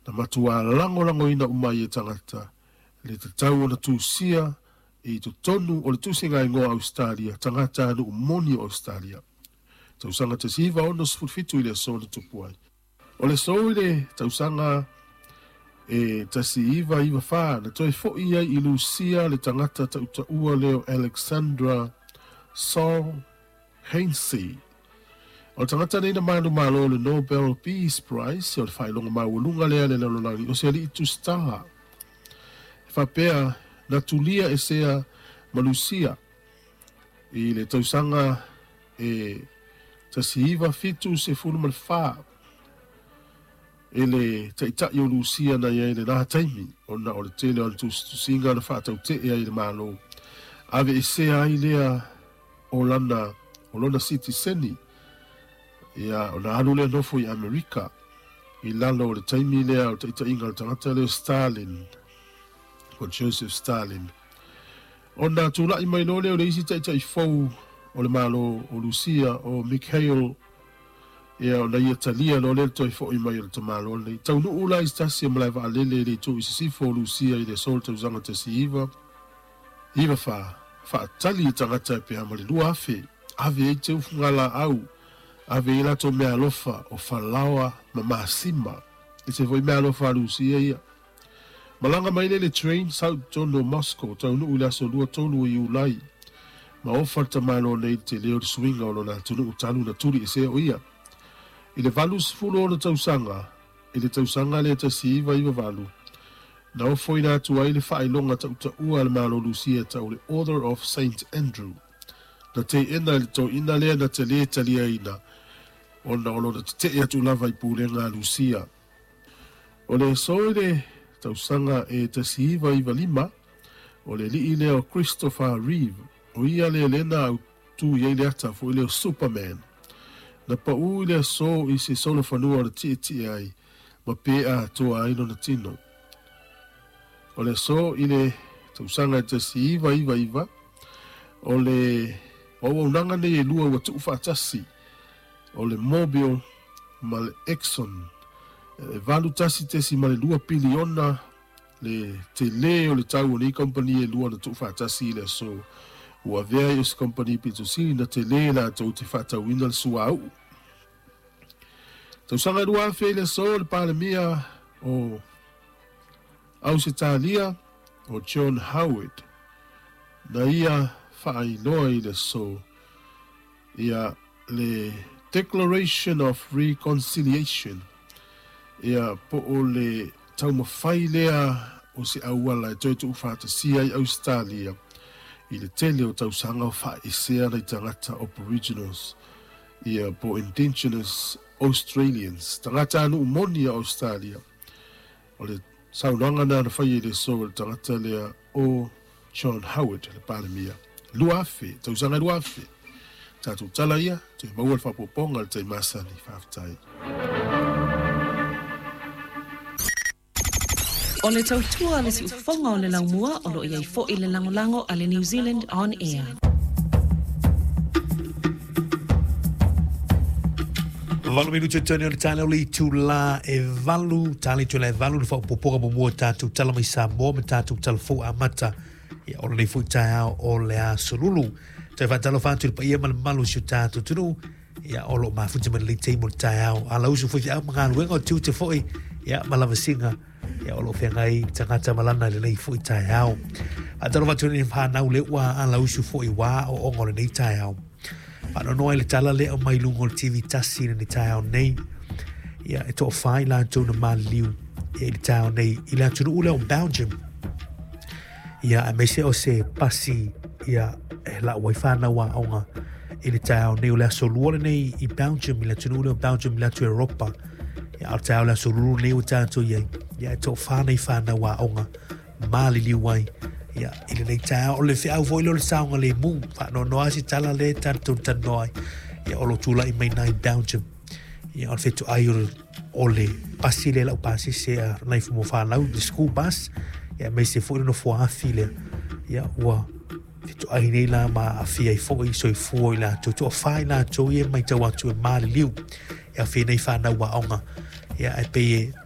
Na matuā lagolagoina uma ai e tagata le tatau ona tusia i totonu o le Tusiga Igoa o Ausetalia, tagatanuu moni o Ausetalia. Tausaga 1967 i le aso na tupu ai. O le aso i le tausaga e 1994 na toe fo'i ai i Lusia le tagata ta'utaua lea o Alexandra Solzhenitsyn. O le tagata nei na manumalo le Nobel Peace Prize, o le faailoga maualuga lea a le lalolagi, o se ali'i tusitala. E faapea na tulia esea ma Lusia i le tausaga e 1974 e le ta'ita'i o Lusia na i ai lenā taimi, ona o le tele o ana tusitusiga na faataute'e ai i le Malo, aveesea ai lea o lana o lona sitiseni, ia ona alu lea nofo i Amerika i lalo o le taimi lea o le taita'iga a le tagata lea o Stalin, po o Joseph Stalin. Ona tula'i mai loa lea o le isi ta'ita'i fou o le Malo o Lusia, o Mikhail, ia ona ia talia loa lea le toe fo'i mai o le tamaloa lenei. Taunuu la i se tasi o malae vaalele i le itu i sisifo o Lusia i le aso o le tausaga 1994, faatali i tagata e pe a ma le 2,000, ave ai teu fugalaau, ave ai latou meaalofa o falaoa ma masima. Ese foi meaalofa a Lusia ia. Malaga mai lea i le train, sau i totonu o Moscow, taunuu i le aso lua tolu o Iulai, ma ofa le tamaloa nei i le tele o le suiga o lona atunuu talu na tuli esea o ia. I le 86 tausaga, i le tausaga lea 1998, na ofoina atu ai le faailoga tautaua a le Malo Lusia e tau le Order of Saint Andrew. Na teena e le toeaina lea na te lē taliaina ona o lona tete'e atu lava i pulega a Lusia. O le aso i le tausaga e 1995, o le alii lea o Christopher Reeve, o ia lea lea na autū i ai le ata foi lea o Superman. Na paū i le aso i se solofanua o le tietie ai ma pe'a atoa ai lona tino. O le aso i le tausaga e 1999, o le auaunaga nei e lua ua tuufaatasi, o le Mobil ma le Exxon, e 81.2 piliona le telē o le tau o nei kamupani e lua na tuufaatasi i le aso ua avea ai o se kamupani pito sili na telē latou te faatauina le suauu. Tausaga e 2000 i le aso, le Palemia o Ausetalia o John Howard na ia faailoa i le aso ia le Declaration of Reconciliation, ia po o le taumafai lea o se auala e toe tuufaatasia ai Ausetalia i le tele o tausaga o faaesea nai tagata Aboriginals ia po o Indigenous Australians, tagatanuu moni a Ausetalia. O le saunoaga lena na faia i le aso e le tagata lea o John Howard, le Palemia. 2000, tausaga 2000. Tatou tala ia, toe maua le faaopoopoga i le taimi masani. Faafetai. O le tautua a le siufofoga o le laumua o lo o i ai foi le lagolago a le New Zealand On Air. Valu minute tonu o le taeao le itulā e valu, tali itulā e valu le faaopoopoga muamua o tatou tala mai Samoa ma tatou tala fou amata ia o lenei foi taeao o le aso Lulu. Toe faatalofa atu i le paia ma le mamalu o si o tatou atunuu ia o lo o mafuta mai lenei taimi o le taeao. Ala usu foi feau ma galuega o tiute foi ia ma lavasiga ia o lo o feagai le tagata ma lana i lenei foi taeao. Faatalofa atu i whanau le ua ala usu foi wā o onga o lenei taeao. Faanoanoa i le tala lea o mai luga o le TV tasi i lenei taeao nei. Ia e toafā i latou na maliliu ia i le taeao nei i le atunuu lea o Belgium. Ia aemaise o se pasi ia e lau ai whanau aoga i le taeao nei o le aso lua lenei i Belgium, i le atunuu lea o Belgium i le atu Europa. Ia o le taeao o le aso lulu lenei ua tatou i ai. Ia e toafā nei whanau aoga maliliu ai ia i lenei taeao. O le feau foi lea o le saogalemu, faanoanoa se tala lea tatou talanoa ai. Ia o lo tulai mai nai Belgium. Ia o le fetuai o le, o le pasi lea lau pasese a nai mo whanau, the school bus. Ia aemaise foi le nofoa afi lea. Ia ua fetuai nei la ma aafia ai foi soifua o i latou. Toafā i latou ia e matau atu e maliliu. E aafia ai nei whanau aoga. Ia e pei e